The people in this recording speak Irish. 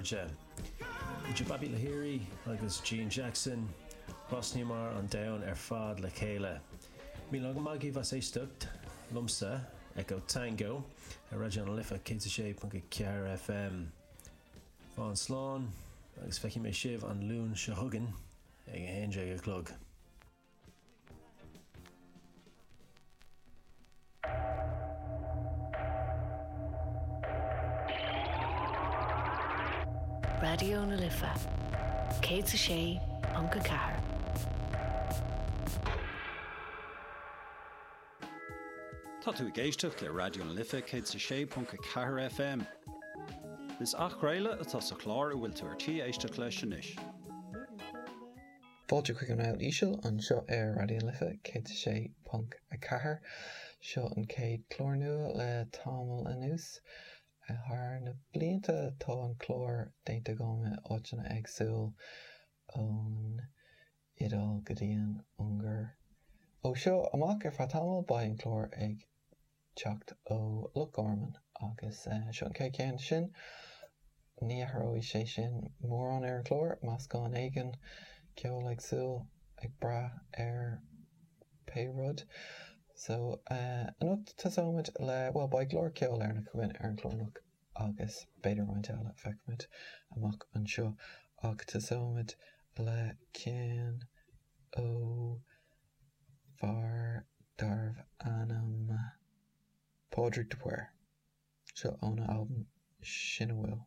chairde. Idir Bappi Lahiri agus Gene Jackson, thrasnaíomar an domhan ar fad le chéile. Míle maith agaibh as éisteacht liomsa, Echo Tango, ar Raidió na Life 106.4 FM. Fan slán agus feicfidh mé sibh an Luan seo chugainn ag 11 a chlog. Raidió na Life 106.4. Tá tú ag éisteacht le Raidió na Life 106.4 FM. Is athchraoladh atá sa chlár a bhfuil tú ar tí éisteacht leis anois. Fáilte chuig an Rabhadh Íseal anseo ar Raidió na Life 106.4. Seo an chéad chlár nua le tamall anuas. Thar na blianta tá an clár déanta agam i áiteanna éagsúil ón Iodáil go dtí an Ungáir. Ó seo amach ar feadh tamaill beidh an clár ag teacht ó Loch Garman agus seo an chéad cheann sin. Ní athróidh sé sin mórán ar an chlár, meascán éigin ceol éagsúil ag brath ar pé rud. So anocht tosóimid le, bhuel beidh go leor ceol Éireannach againn ar an chlár anocht agus b'fhéidir roinnt eile, feicfimid amach anseo ach tosóimid le ceann ó fear darbh ainm Pádraig de Paor. Seo óna albam Sin a Bhfuil.